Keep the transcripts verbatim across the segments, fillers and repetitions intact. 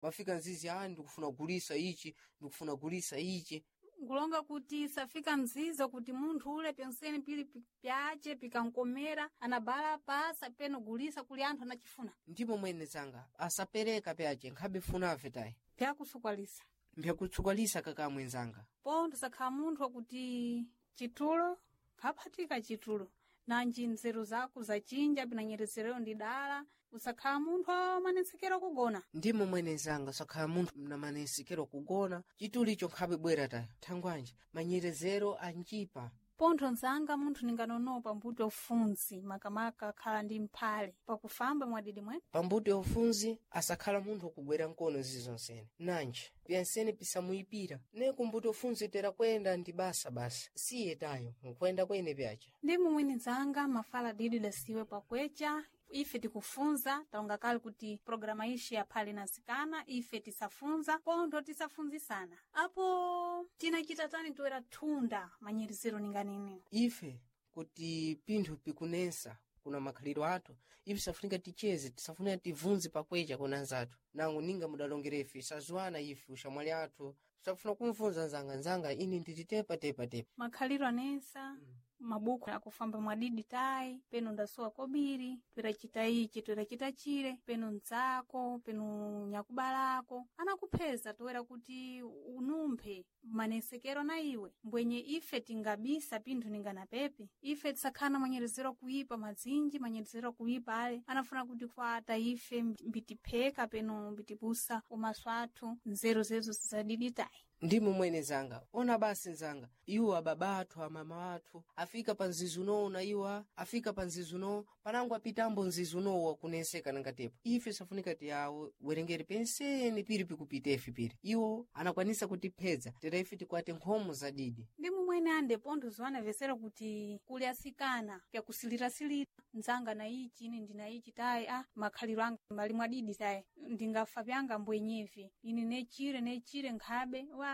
Mafika nzizi, ah, ndikufuna kugulisa ichi, ndikufuna kugulisa ichi. Nkulonga kuti safika mzizo kuti munthu ule pyonsene pili pi- pyace pikankomera anabala pasa peno gulisa kuli anthu anachifuna. Ndipo mwene zanga asapereka pyace nkhabe funave tayi. Pyakusukwalisa. Mpyakutsukwanisa kakamwe nzanga. Pontho sakhala munthu wakuti chitulo nkaphatika chitulo nanji nzeru zako zachinja pinanyerezereyo ndi dala, usakhala munthu amanetsekera kugona. Ndimo mwene nzanga, sakhala munthu namanensekero kugona chitulo icho nkhabe bwera tayi thangwanji manyerezero anchipa. Pontho nzanga munthu ninganonopa mbuto ufunzi makamaka akhala ndi mphale pakufamba mwadidi mwene. Pambuto ya ufunzi asakhala munthu wakugwera mkono zizonsene nanji pyansene pisamuyipira ne kumbuto ufunzi tera kwenda ndi basa basa siye tayo nkwenda kwene pyaca. Ndi mumwene nzanga mafala didi dasiwe pakwecha ife tikufunza taonga kale kuti programa ishi yaphale nasikana ife tisafunza pontho tisafunzisana apo tinachita tani toera thunda manyerezero ninganene. Ife kuti pinthu pikunensa kuna makhalidwe athu, ife tisafunika ticheze, tisafunika tivunze pakwecha kuna anzathu nango ninga mudalongera ife sazuwana ife ushamwali athu tisafuna kumvunza nzanga nzanga ine ndititepa tepa tepa. Makhaliro anensa mabuku akufamba mwadidi tayi peno ndasuwa kobiri toeracita ichi toeracita chire peno mdzako peno nyakubalako anakupheza toera kuti unumphe manesekero na iwe mbwenye ife tingabisa pinthu ninganapepe ife tisakhala na manyerezero kuipa madzinji manyerezero kuipa ale anafuna kuti kwata ife mbitipheka peno mbitipusa umaso athu nzeru zezo zizadidi tayi. Ndimo mwene zanga ona basi nzanga iwo ababa athu amama athu afika pa mzizi unowo na iwa afika pa mzizi unowo panango apitambo mzizi unowo wakunenseka nangatepo ife safunika tiyawo werengere pensene piri pikupita ife piri iwo anakwanisa kutiphedza tera ife tikwate nkhomo zadidi. Ndi mumwene ande pontho ziwanavesera kuti kuli asikana pyakusilirasilira nzanga na ichi ine ndina ichi tayi a makhaliro anga mali mwadidi tayi ndingafa pyanga mbwenyevi ine nechire nechire nkhabe wa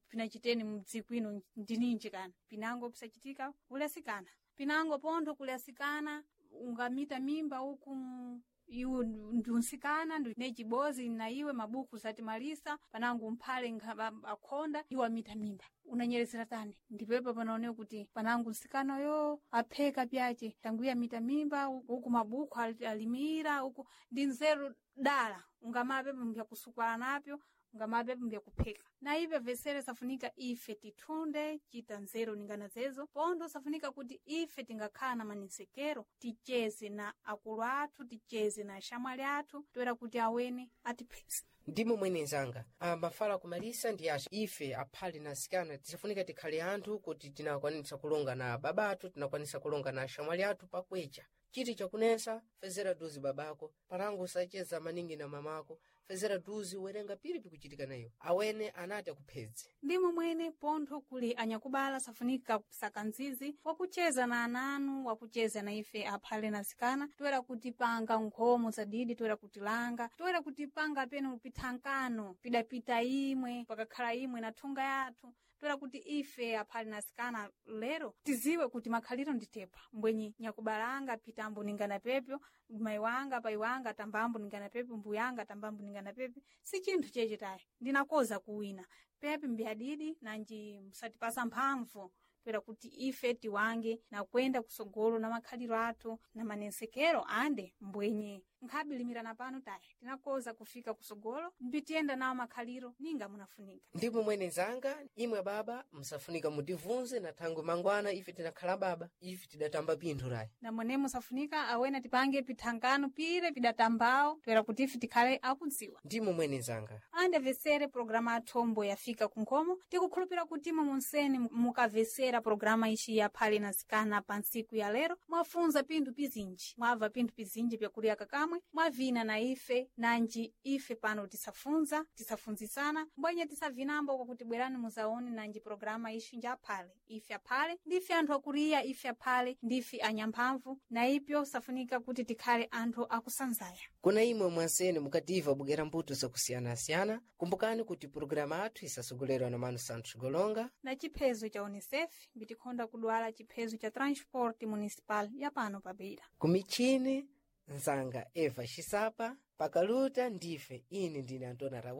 pinachiteni mdziko ino ndininji kana pinango pisachitika kuli asikana pinango pontho kuli asikana ungamita mimba uku iwe ndiunsikana ndi nechibozi na iwe mabuku zatimalisa panango mphale nkha- akhonda iwe amita mimba unanyerezera tani ndipepa panaoneka kuti panango nsikana yo apheka pyace tanguye amita mimba uku mabuku ali- alimira uku ndi nzeru dala ungamapepo mbyakusukwala napyo ngamapepo mbyakupheka na ipe vesere safunika ife tithunde chita nzeru ningana zezo pontho safunika kuti ife tingakhala na manensekero ticheze na akulu athu ticheze na ashamwali athu toera kuti awene atipheze. Ndimo mwene nzanga amafala kumalisa ndi acha ife aphale na asikana tisafunika tikhale anthu kuti tinakwanisa kulonga na baba athu tinakwanisa kulonga na ashamwali athu pakwecha chiti chakunensa fezera duzi babako panango usacheza maningi na mamako fezera duzi werenga piri pikuchitika nayo awene anati akuphedze. Ndimo mwene pontho kuli anyakubala safunika kusaka nzizi wakucheza na ananu wakucheza na ife aphale na asikana toera kuti panga nkhomo zadidi toera kuti langa toera kuti panga peno pithankano pidapita imwe pakakhala imwe na thunga yathu toera kuti ife aphale na asikana lero tiziwe kuti makhaliro nditepa mbwenye nyakubalanga pitambo ningana pepyo mayi wanga payi wanga tambambo ningana pepe mbuyanga tambambo ningana pepe si chinthu cheche tayi ndinakoza kuwina pepe mbyadidi nanji musatipasa mphamvu toera kuti ife tiwange na kwenda kusogolo na makhaliro athu na manensekero ande mbwenye nkhabilimirana pano tayi tinakoza kufika kusogolo mbitiyenda nawo makhaliro ninga munafunika. Ndipo mwene nzanga imwe baba msafunika mutivunze na thangwe mangwana ife tinakhala baba ife tidatamba pinthu rayi. Na mwene musafunika awene tipange pithangano pire pidatambawo toera kuti ife tikhale akudziwa. Ndimo mwene nzanga. Andavesere programa athombo yafika kunkhomo tikukhulupira kuti imwe munseni mukavesera programa ici yaphale na zikana pa ntsiku ya lero mwafunza pinthu pizinji mwabva pinthu pizinji pyakulya kakamwe mwavina na ife nanji ife pano tisafunza tisafunzisana mbwenye tisavinambo kwakuti bwerani muzaone nanji programa ici njaphale ife aphale ndife anthu akuriya ife aphale ndife anyamphamvu na ipyo safunika kuti tikhale anthu akusanzaya. Kuna imwe mwansene mukativa bugera mbuto zakusiyanasiyana kumbukani kuti pulogalamu athu isasogolerwa na Mano Santos Golonga na chiphezo cha unicef mbitikhonda kudwala chiphezo cha transport municipal ya pano pa Beira. Kumichini nzanga Eva Xisapa. Pakaluta ndife. Ine ndine Antona Raul.